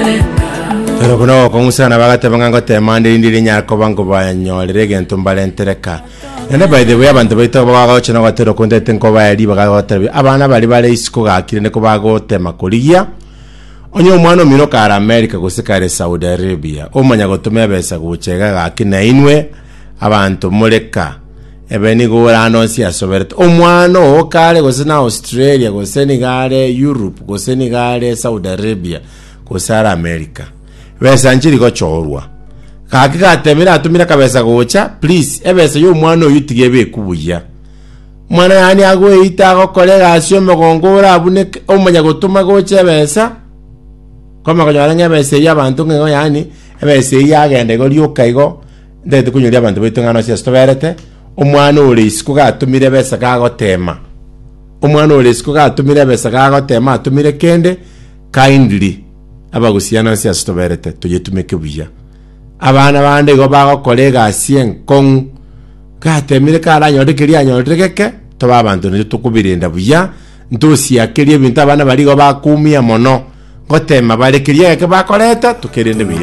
Ero buna ogokong'usana bagateba ng'a ngotema ande rinde rinyare koba nkobanyorera egento mbarentere ka. Naende by the way abanto baito bagocha na ogotera okwo ntaete nkobae ribaga gotebia abana baria bare isiko gaki rende kobagotema korigia onye omwana omino kare America gose kare Saudi Arabia omanya gotoma ebesa gocha iga gaki nainwe abanto more ka ebe nigo ore ande onsi asoberete omwana oo kare gose na Australia gose nigo are Europe gose nigo are Saudi Arabia gose are America besa nchiri gochorwa gaki gatemire atumire akabesa gocha please ebesa ya omwana oyio tiga ebekwe buya omwana yaani agoeita agokora egasi omogongo orabuneke omanya gotoma gocha ebesa kwamanya konyora ng'a ebesa eyio abanto ng'a igo yaani ebesa eyio yagenda igo rioka igo ntagete konyoria abanto baito ng'a nonsi ase toberete omwana ore isiko gatumire ebesa gagotema omwana ore isiko gatumire ebesa gagotema atumire kende Kindly, abagusiana ase ase toberete, toyetumeke buya. Abana bande igo bagokora egasi enkong'u, gatemire karanyore keria anyorire geke, tobe abanto naintwe tokobirenda buya, ntosiakerie ebinto abana baria igo bakoumia mono, ngotema bare keria egeke bakoreta, tokerende buya.